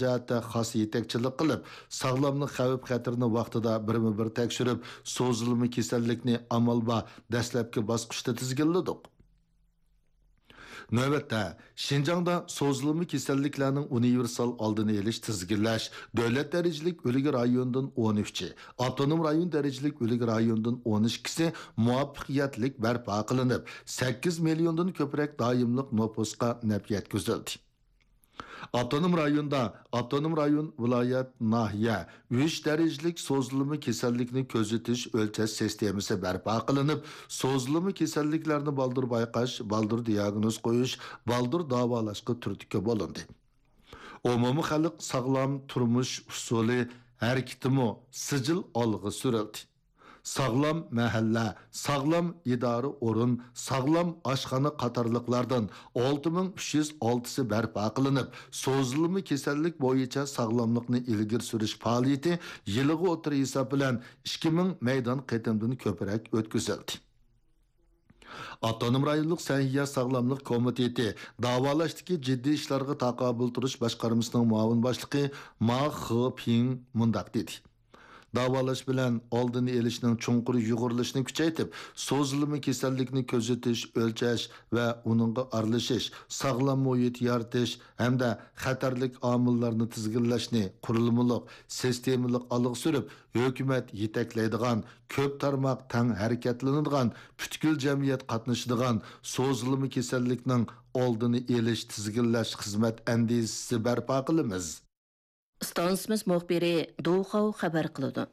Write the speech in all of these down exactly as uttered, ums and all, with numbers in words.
جەھەتتە خاس يېتەكچىلىك قىلىپ، ساغلاملىق خەۋپ-خەتىرىنى ۋاقتىدا بىرمۇ بىر تەكشۈرۈپ، سوزۇلما كېسەللىكنى ئامال بار دەسلەپكى باسقۇچتا تىزگىنلىدۇق. نۆۋەتتە، شىنجاڭدا سوزۇلما كېسەللىكلەرنىڭ ئۇنىۋېرسال ئالدىنى ئېلىش، تىزگىنلەش دۆلەت دەرىجىلىك ئۈلگە رايونىدىن ئون ئۈچى، ئاپتونوم رايون دەرىجىلىك ئۈلگە رايونىدىن ئون ئىككىسى مۇۋەپپەقىيەتلىك بەرپا قىلىنىپ، سەككىز مىليوندىن كۆپرەك دائىملىق نوپۇسقا نەپ يەتكۈزۈلدى. ئاپتونوم رايوندا، ئاپتونوم رايون، ۋىلايەت، ناھىيە، ئۈچ دەرىجىلىك سوزۇلما كېسەللىكنى كۆزىتىش، ئۆلچەش سىستېمىسى بەرپا قىلىنىپ، سوزۇلما كېسەللىكلەرنى بالدۇر بايقاش، بالدۇر دىياگنوز قويۇش، بالدۇر داۋالاشقا تۈرتكە بولۇندى. ئومۇمىي خەلق ساغلام تۇرمۇش ئۇسۇلى ھەرىكىتىمۇ سىجىل ئالغا سۈرۈلدى. ساغلام مەھەللە، ساغلام ئىدارە ئورۇن، ساغلام ئاشخانا قاتارلىقلاردىن ئالتە مىڭ ئۈچ يۈز ئالتىسى بەرپا قىلىنىپ، سوزۇلما كېسەللىك بويىچە ساغلاملىقنى ئىلگىرى سۈرۈش پائالىيىتى يىلىغا ئوتتۇرا ھېساب بىلەن ئىككى مىڭ مەيدان قېتىمدىن كۆپرەك ئۆتكۈزۈلدى. ئاپتونوم رايونلۇق سەھىيە ساغلاملىق كومىتېتى داۋالاشتىكى جىددىي ئىشلارغا تاقابىل تۇرۇش باشقارمىسىنىڭ مۇئاۋىن باشلىقى ما خېپىڭ مۇنداق دېدى: داۋالاش بىلەن ئالدىنى ئېلىشنىڭ چوڭقۇر يۇغۇرۇلۇشىنى كۈچەيتىپ، سوزۇلما كېسەللىكنى كۆزىتىش، ئۆلچەش ۋە ئۇنىڭغا ئارىلىشىش، ساغلام مۇھىت يارىتىش ھەمدە خەتەرلىك ئامىللارنى تىزگىنلەشنى قۇرۇلمىلىق، سىستېمىلىق ئالغا سۈرۈپ، ھۆكۈمەت يېتەكلەيدىغان، كۆپ تارماق تەڭ ھەرىكەتلىنىدىغان، پۈتكۈل جەمئىيەت قاتنىشىدىغان سوزۇلما كېسەللىكنىڭ ئالدىنى ئېلىش، تىزگىنلەش خىزمەت ئەندىزىسى بەرپا قىلىمىز. ئىستانسىمىز مۇخبىرى دۇخاۋ خەۋەر قىلىدۇ.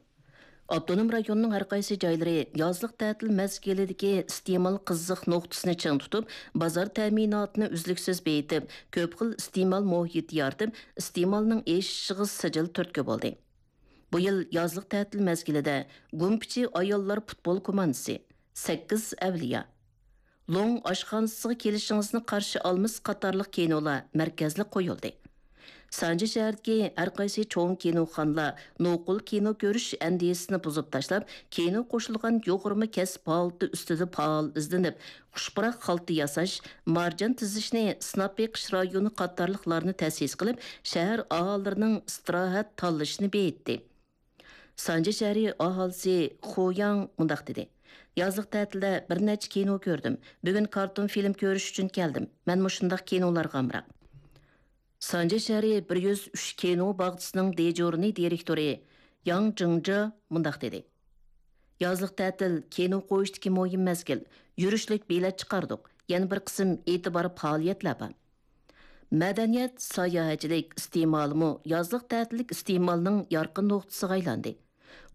ئاپتونوم رايوننىڭ ھەر قايسى جايلىرى يازلىق تەتىل مەزگىلىدىكى ئىستېمال قىزىق نۇقتىسىنى چىڭ تۇتۇپ، بازار تەمىناتىنى ئۈزلۈكسىز بېيىتىپ، كۆپ خىل ئىستېمال مۇھىتى يارىتىپ، ئىستېمالنىڭ ئېشىشىغا سىجىل تۈرتكە بولدى. بۇ يىل يازلىق تەتىل مەزگىلىدە گۇمپىچى ئاياللار پۇتبول كوماندىسى، سەككىز ئەۋلىيا، لوڭ ئاشخانىسىغا كېلىشىڭىزنى قارشى ئالىمىز قاتارلىق كىنولار مەركەزلىك قويۇلدى. سانجى شەھىرىدىكى ھەر قايسى چوڭ كىنوخانىلار نوقۇل كىنو كۆرۈش ئەندىزىسىنى بۇزۇپ تاشلاپ، كىنو قوشۇلغان يۇغۇرما كەسىپ ھالىتى ئۈستىدە پائال ئىزدىنىپ، خۇش پۇراق خالتا ياساش، مارجان تىزىشنى سىناپ بېقىش رايونى قاتارلىقلارنى تەسىس قىلىپ، شەھەر ئاھالىلىرىنىڭ ئىستىراھەت تاللىشىنى بېيىتتى. سانجى شەھىرى ئاھالىسى خۇياڭ مۇنداق دېدى: يازلىق تەتىلدە بىر نەچچە كىنو كۆردۈم. بۈگۈن كارتون فىلىم كۆرۈش ئۈچۈن كەلدىم. مەن مۇشۇنداق كىنولارغا ئامراق. سانجى شەھىرى بىر يۈز ئۈچ كىنو باغچىسىنىڭ دېجورنى دىرېكتورى ياڭ جىڭجې مۇنداق دېدى: يازلىق تەتىل كىنو قويۇشتىكى مۇھىم مەزگىل. يۈرۈشلۈك بېلەت چىقاردۇق. يەنە بىر قىسىم ئېتىبار پائالىيەتلەر بار. مەدەنىيەت، ساياھەتچىلىك ئىستېمالىمۇ يازلىق تەتىللىك ئىستېمالنىڭ يارقىن نۇقتىسىغا ئايلاندى.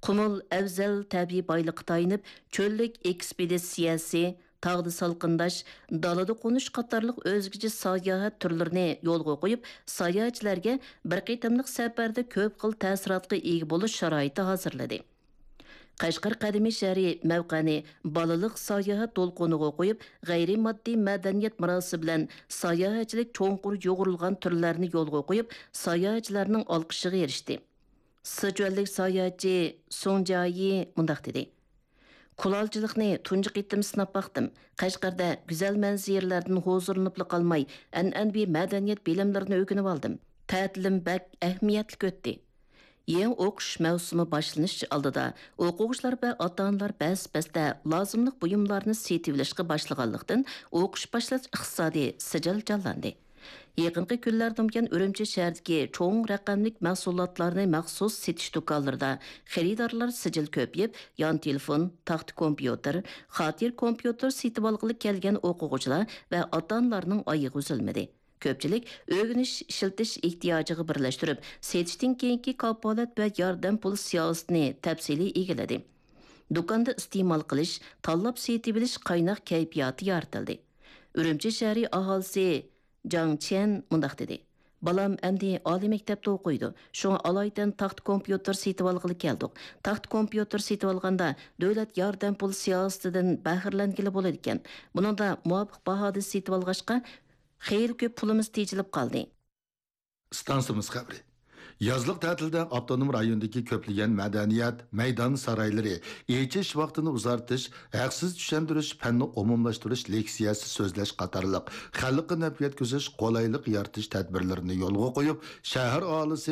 قۇمۇل ئەۋزەل تەبىئىي بايلىققا تايىنىپ، چۆللۈك ئېكسپېدىتسىيەسى، تاغدا سالقىنداش، دالىدا قونۇش قاتارلىق ئۆزگىچە ساياھەت تۈرلىرىنى يولغا قويۇپ، ساياھەتچىلەرگە بىر قېتىملىق سەپەردە كۆپ خىل تەسىراتقا ئىگە بولۇش شارائىتى ھازىرلىدى. قەشقەر قەدىمىي شەھىرى مەۋقەنى بالىلىق ساياھەت دولقۇنىغا قويۇپ، غەيرىي ماددىي مەدەنىيەت مىراسى بىلەن ساياھەتچىلىك چوڭقۇر يۇغۇرۇلغان تۈرلەرنى يولغا قويۇپ، ساياھەتچىلەرنىڭ ئالقىشىغا ئېرىشتى. سىچۈەنلىك ساياھەتچى سۇڭ جيايى مۇنداق دېدى: كۇلالچىلىقنى تۇنجى قېتىم سىناپ باقتىم. قەشقەردە گۈزەل مەنزىرىلەردىن ھۇزۇرلىنىپلا قالماي، ئەنئەنىۋى مەدەنىيەت بىلىملىرىنى ئۆگىنىۋالدىم. تەتىلىم بەك ئەھمىيەتلىك ئۆتتى. يېڭى ئوقۇش مەۋسۇمى باشلىنىش ئالدىدا ئوقۇغۇچىلار ۋە ئاتا-ئانىلار بەس-بەستە لازىملىق بۇيۇملارنى سېتىۋېلىشقا باشلىغانلىقتىن، ئوقۇش باشلاش ئىقتىسادى سىجىل جانلاندى. يېقىنقى كۈنلەردىن بۇيان، ئۈرۈمچى شەھىرىدىكى چوڭ رەقەملىك مەھسۇلاتلارنى مەخسۇس سېتىش دۇكانلىرىدا خېرىدارلار سىجىل كۆپىيىپ، يان تېلېفون، تاختا كومپيۇتېر، خاتىرە كومپيۇتېر سېتىۋالغىلى كەلگەن ئوقۇغۇچىلار ۋە ئاتا-ئانىلارنىڭ ئايىغى ئۈزۈلمىدى. كۆپچىلىك ئۆگىنىش، ئىشلىتىش ئېھتىياجىغا بىرلەشتۈرۈپ، سېتىشتىن كېيىنكى كاپالەت ۋە ياردەم پۇل سىياسىتىنى تەپسىلىي ئىگىلىدى. دۇكاندا ئىستېمال قىلىش، تاللاپ سېتىۋېلىش قايناق كەيپىياتى يارىتىلدى. ئۈرۈمچى شەھىرى ئاھالىسى جاڭ چيەن مۇنداق دېدى: بالام ئەمدى ئالىي مەكتەپتە ئوقۇيدۇ، شۇڭا ئالايىتەن تاختا كومپيۇتېر سېتىۋالغىلى كەلدۇق. تاختا كومپيۇتېر سېتىۋالغاندا دۆلەت ياردەم پۇل سىياسىتىدىن بەھرىلەنگىلى بولىدىكەن. بۇنىڭدا مۇۋاپىق باھادا سېتىۋالغاچقا، خېلى كۆپ پۇلىمىز تېجىلىپ قالدى. ئىستانسىمىز خەۋىرى. يازلىق تەتىلدە ئاپتونوم رايوندىكى كۆپلىگەن مەدەنىيەت، مەيدان سارايلىرى، ئېچىش ۋاقتىنى ئۇزارتىش، ھەقسىز چۈشەندۈرۈش، پەننى ئومۇملاشتۇرۇش لېكسىيەسى سۆزلەش قاتارلىق خەلققە نەپ يەتكۈزۈش، قولايلىق يارىتىش تەدبىرلىرىنى يولغا قويۇپ، شەھەر ئاھالىسى